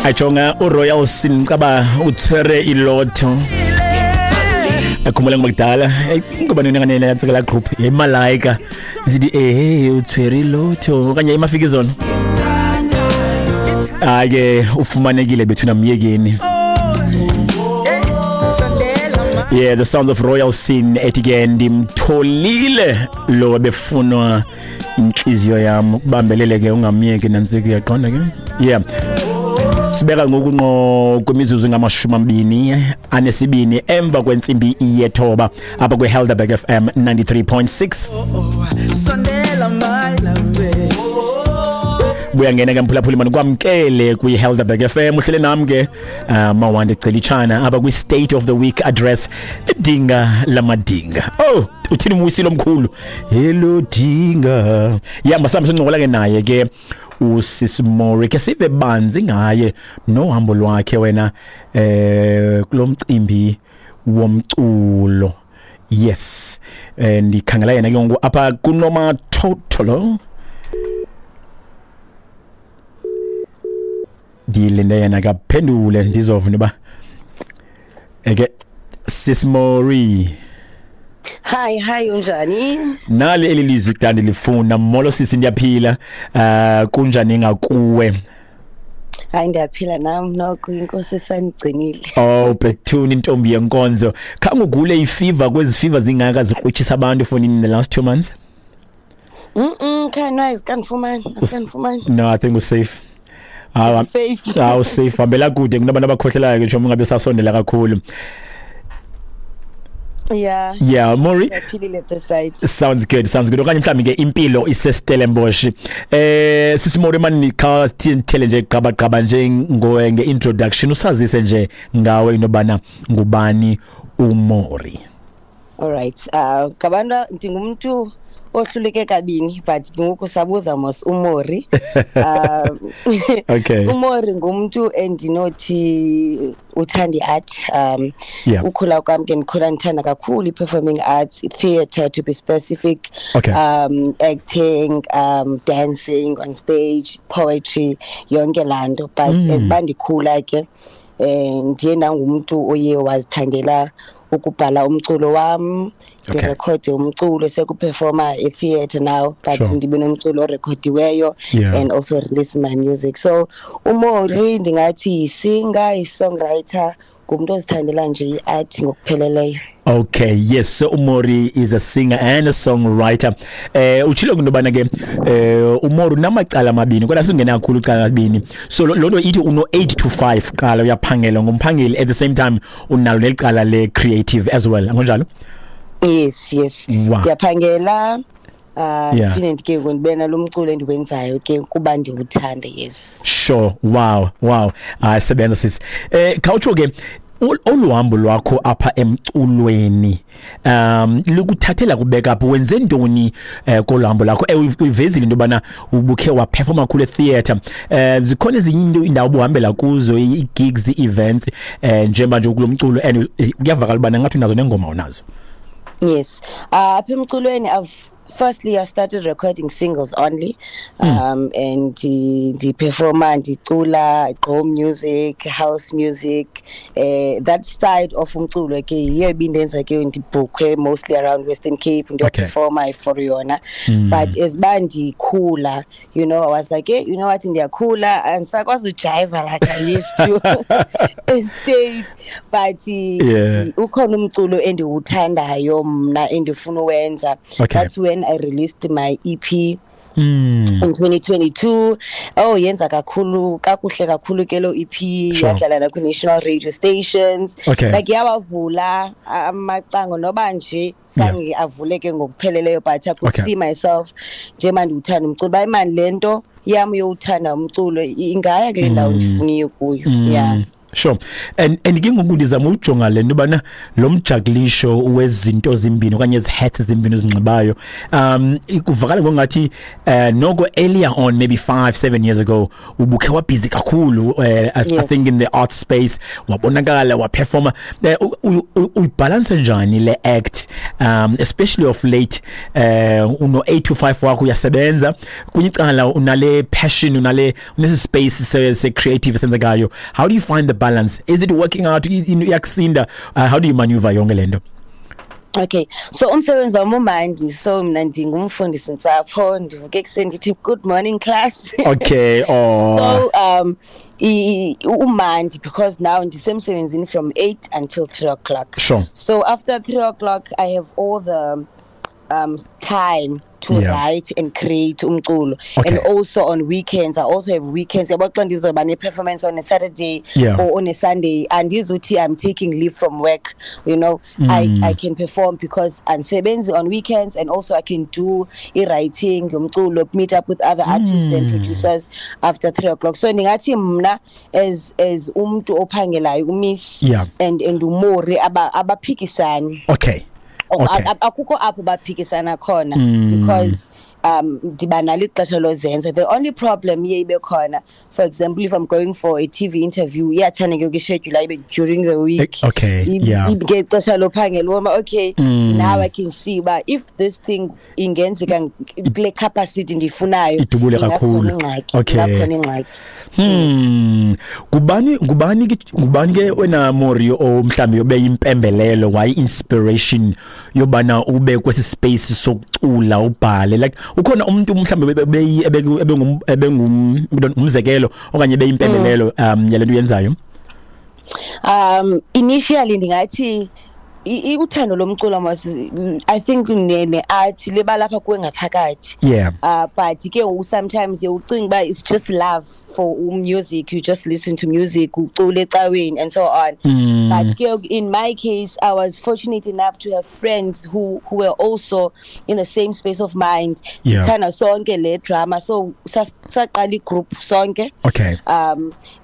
Ajonga uRoyal Sincaba utswere ilotho. Akhumbula ngokudala ngoba nina nganele yantsela group yeMalaika ndithi utswere ilotho okanye iMafikizolo. Ake ufumanekile bethu namyekeni. Yeah, the sounds of Royal Sin ethi ke ndimtholile lo befunwa inhliziyo yami, ubambelele ke ungamyeki nantsiki, uyaqonda ke. Yeah, sibeka ngoku ngqo kwimizuzu ngama-22 emva kwentsimbi yethoba apha kwi-Helderberg FM 93.6. Buya ngena ke mphulaphuli, mani kwamkele kwi-Helderberg FM, uhlele nam ke Mawande Celitshana apha kwi-State of the Week address, idinga lamadinga. Oh, uthini umwisilo omkhulu hello dinga. Yeah, masambe sincokola ke naye ke uSis Mori, ke sive banzi ngaye nohambo lwakhe wena kulomcimbi womculo. Yes, ndikhangela yena ke ngoku apha kunoma totolo, ndilinde yena kaphendule ndizova noba eke. Sis Mori. Hi, hi, unjani? Nali eli lizwi kudala ndilifuna. Molo sisi, ndiyaphila. Kunjani ngakuwe? Hayi, ndiyaphila nam noko, inkosi isandigcinile. Oh bethuni, intombi yenkonzo, khange ugule ifever kwezi fever zingaka zikrutshisa abantu for in the last 2 months? Khani azikanifumani, azikanifumani. No, I think we're safe. Safe. Awu, safe, hambela kude kunabantu abakhohlelayo ke nje ungabe sasondela kakhulu. Yeah, Mori. Ndiyaphilile this side. Sounds good, sounds good. Okanye mhlawumbi ke impilo iseStellenbosch. Sisi Mori, mani kha thele nje qaba qaba nje nge-introduction, usazise nje ngawe inobana ngubani uMori. All right. Ngabantu ndingumuntu ohluleke kabini, but ngoku sabuza mos uMori. uMori ngumuntu endinothi uthanda i-art. Ukhula kwami ke ndikhula ndithanda kakhulu i-performing arts, theatre to be specific. Acting, dancing on stage, poetry, yonke laa nto. But as uba ndikhula ke ndiye ndangumuntu oye wazithandela ukubhala umculo wam, ndirekhode umculo, sekuperforma e-theatre now, but ndibe nomculo orekhodiweyo and also release my music. So uMori ndingathi yi-singer, yi-songwriter, ngumntu ozithandela nje i-art ngokupheleleyo. Okay, yes, so uMori is a singer and a songwriter. Utshilo into ke uMori unamacala amabini, kodwa singena kakhulu icala amabini. So lo nto ithi uno 8 to 5 qala uyaphangela, ngumphangeli, at the same time unalo nelicala le creative as well. Angonjalo? Yes. Ndiyaphangela. Ndiphinde ke ndibe nalo mculo endiwenzayo ke kuba ndiwuthanda, yes. Sure. Wow. Sebenza sis. Khawutsho ke olu hambo lwakho apha emculweni likuthathela kubeka apho, wenze ntoni kolu hambo lakho? Uyivezile into yobana ubukhe waperforma kakhulu etheatre. Zikhona ezinye into indawo obuhambela kuzo, i-gigs, i-events, njengoba nje kulo mculo, and kuyavakala ubana ngathi unazo nengoma unazo? Yes. Apha emculweni I've firstly I started recording singles only, and ndiperforma, ndicula gqom music, house music, that side of umculo ke yiyo ibindenza ke ndibhukhwe mostly around Western Cape, ndiyoperforma for yona. But as uba ndikhula, I was like, hey, you know what, ndiyakhula andisakwazi ujiva like I used to stage, but ukhona umculo endiwuthandayo mna endifuna uwenza. That's when I released my EP in 2022. Oh, yenza kakhulu kakuhle kakhulu ke lo EP, yadlala na national radio stations. Like yawavula amacango noba nje sange avuleke ngokupheleleyo, but I could see myself njengoba ndiwuthanda umculo, ba imani lento yami yowuthanda umculo ingaya kule ndawo ndifuna kuyo. Yeah. Sure. And ke ngoku ndizama ujonga le nto bana lo mjakulisho wezinto zimbini okanye ezi hats zimbini ozinxibayo, kuvakala ngongathi noko earlier on, maybe 5 7 years ago, ubukhe wabhizi kakhulu, I think in the art space, wabonakala, waperforma. Uyibalance njani le act, especially of late, uno 8 to 5 wakho, uyasebenza, kunye icala unale passion, unale unesi space se creative senzekayo? How do you find the balance? Is it working out? Iyakusinda? How do you maneuver yonke lento? Okay, so umsebenzi wami umandi. So mna ndingumfundisi ntsapho, ndivuke ekuseni ndithi good morning, class. Okay, oh. So umandi because now ndisemsebenzini from 8 until 3 o'clock. So after 3 o'clock I have all the time to write and create umculo. And also on weekends, I also have weekends, yabo, xa ndizoba ne-performance on a Saturday or on a Sunday, andizuthi I'm taking leave from work. I can perform because andisebenzi on weekends, and also I can do i-writing yomculo, meet up with other artists and producers after 3 o'clock. So ndingathi mna as umntu ophangelayo, umiss and uMori abaphikisani. Akukho apho baphikisana khona because ndiba nalo ixesha lozenza. The only problem iye ibe khona, for example, if I'm going for a TV interview, iyathanda ke ukuschedule ibe during the week. Ngexesha lophangela woma. Okay, now I can see uba if this thing ingenzeka kule capacity ndiyifunayo, Idubule kakhulu. Ingxaki, ingakhona ingxaki. Ngubani ke wena Mori o mhlambi ube impembelelo, wayi inspiration yobana ube kwesi space sokucula, ubhale? Like, ukhona umuntu mhlambi ebengum umzekelo okanye beyimpembelelo yalento uyenzayo? Initially ndingathi uthando lomculo mos, I think ne art liba lapha kuwe ngaphakathi. But ke ngoku sometimes ucinga uba it's just love for music, you just listen to music, ucule ecaweni and so on. But ke in my case, I was fortunate enough to have friends who were also in the same space of mind. Sithanda sonke le drama, so saqala igroup sonke.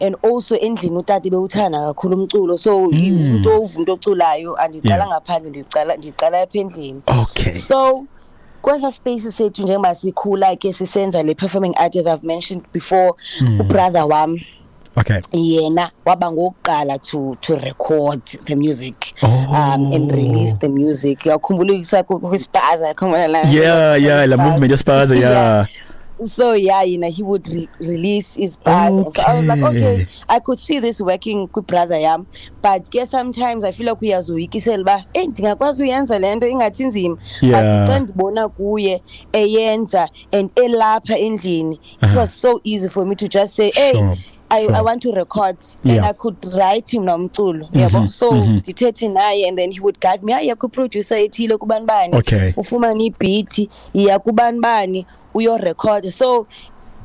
And also endlini utata bewuthanda kakhulu umculo, so umuntu ova umuntu oculayo, andiqala ngaphandle, ndiqala apha endlini. So kwesa space sethu, njengoba sikhula ke sisenza le performing art, as I've mentioned before, ubrother wam yena waba ngokuqala to record the music and release the music. Uyakhumbula kwispaza, yakhumbula la? Yeah, la movement yespaza, yeah. So yeah, he would release his bars. And so I was like, okay, I could see this working with brother yam. But yeah, sometimes I feel like uyazoyikisela uba, eh, ndingakwazi uyenza le nto, ingathi inzima. But xa ndibona kuye eyenza and elapha endlini, it was so easy for me to just say, hey, I want to record and I could write him nomculo, yabo. So ndithethe naye and then he would guide me, hayi, ku-producer ethile, kubani bani, ufumane ibeat, iya kubani bani, uyorecord. So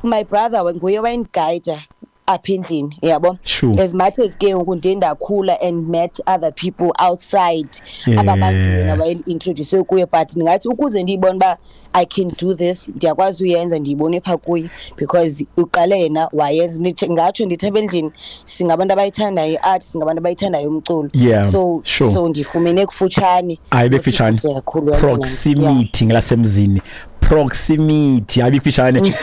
my brother nguye wayenguide apha endlini, yabo. As much as ke ngoku ndiye ndakhula and met other people outside, ababantu yena waye-introduce kuye, but ndingathi ukuze ndiyibone uba I can do this, ndiyakwazi uyenza, ndiyibone phaa kuye because uqale yena wayenza. Ngatsho ndithi apha endlini singabantu abayithandayo i-art, singabantu abayithandayo umculo. So so ndifumene kufutshane. Hayi, bekufutshane. Kude kakhulu yabona. Proximity ngelasemzini, proximity, hayi, bekufutshane.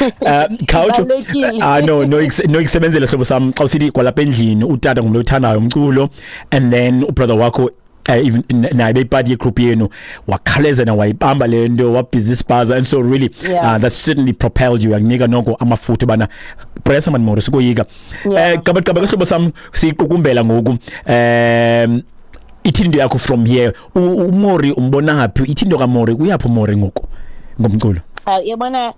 Khawutsho. Ibalulekile. Ah, no, ikusebenzele hlobo sam xa usithi kwalapha endlini utata ngumntu othandayo umculo and then ubrother wakho, even naye beyipart yegroup yenu, wakhaleza na wayibamba le nto, wabhizi ispaza, and so really that certainly propelled you, yakunika noko amafutha bana pressa man Mori, sikoyika. Gaba gaba ke hlobo sam, siyiqukumbela ngoku. Ithini into yakho from here? UMori umbona phi? Ithini into kaMori? Kuyaphi uMori ngoku ngomculo? Yabona,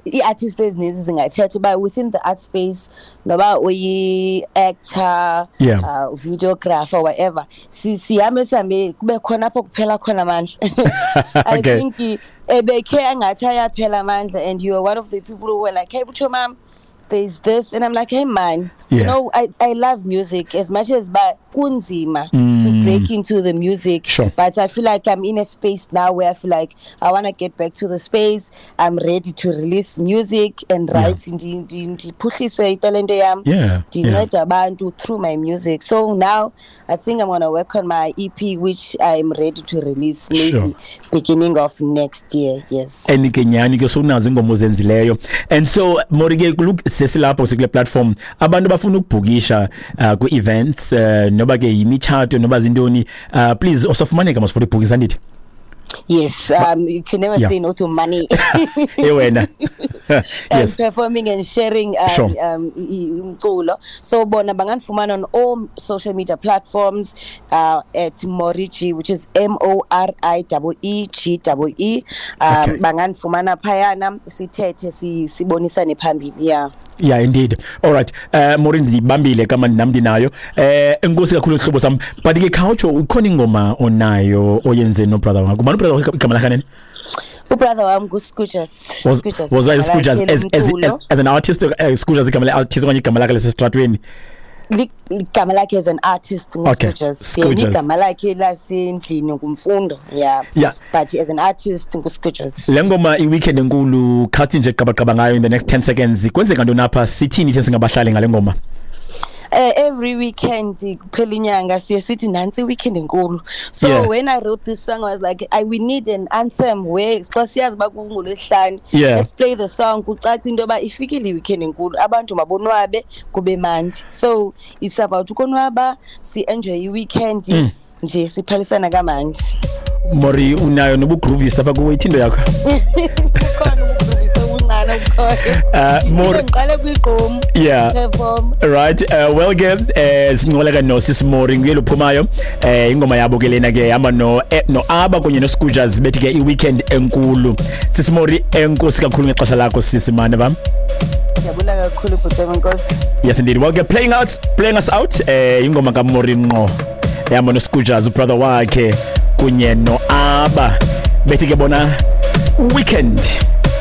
ii-artist ezininzi zingathetha uba within the art space, noba uyi-actor, videographer, whatever, sihambe sihambe kube khona apho kuphela khona amandla. I think ebekhe angathi ayaphela amandla, and you are one of the people who were like, "Hey, Butcho mam, there's this," and I'm like, "Hey man, you know, I love music as much as, but kunzima to break into the music. Sure. But I feel like I'm in a space now where I feel like I want to get back to the space. I'm ready to release music and write ndiphuhlise italente yam, ndincede abantu through my music. So now I think I'm going to work on my EP, which I'm ready to release maybe beginning of next year. Yes. And ke nyani ke sowunazo ingoma ozenzileyo. And so Mori ke, look, sesilapho, sikule platform, abantu bafuna ukubhukisha kwi-events, noba ke yimitshato noba zintoni, please usafumaneka mos for ibhukisa, andithi? Yes, you can never say no to money. Ewena. And performing and sharing umculo. So bona bangandifumana on all social media platforms at Moriji, which is M O R I E E G E E. Bangandifumana phayana, sithethe, sibonisane phambili. Yeah. Yeah, indeed. All right. Mori, ndibambile kama nam ndinayo. Enkosi kakhulu, sihlobo sam. But ke khawutsho, ukhona ingoma onayo oyenze no brother wakho? Ubani brother wakho, igama lakhe nini? Ubrother wami nguScooters. Was was that Scooters as an artist, Scooters igama le artist okanye igama lakhe lesestratweni? Igama lakhe as an artist nguScooters. Scooters. Yena igama lakhe lasendlini nguMfundo. Yeah. But as an artist nguScooters. Le ngoma, i-weekend enkulu, khathi nje qabaqaba ngayo in the next 10 seconds. Kwenzeka ntoni apha? Sithini thina singabahlali ngale ngoma? Every weekend kuphela inyanga siye sithi nantsi weekend enkulu. So when I wrote this song, I was like, we need an anthem where xa siyazi uba kungolwesihlanu, let's play the song, kucace into yoba ifikile i-weekend enkulu, abantu mabonwabe, kube mandi. So it's about ukonwaba, si-enjoy i-weekend nje, siphalisana kamandi. Mori, unayo nobugroovist apha kuwe, ithindo yakho. Kukhona ubugroovist obuncane obukhona. Mori Ngiqale kwigqom perform. Right, well ke, sincoleka no Sis Mori, nguye lophumayo. Ingoma yabo ke lena ke, hamba no Aba kunye no Scooters, bethi ke i-weekend enkulu. Sis Mori, enkosi kakhulu ngexesha lakho, sisi mane bam. Ngiyabula kakhulu, bhuti wami, Nkosi. Yes indeed. Well ke, playing us out, ingoma kaMori ngqo, ehamba no Scooters brother wakhe kunye no Aba, bethi ke bona weekend.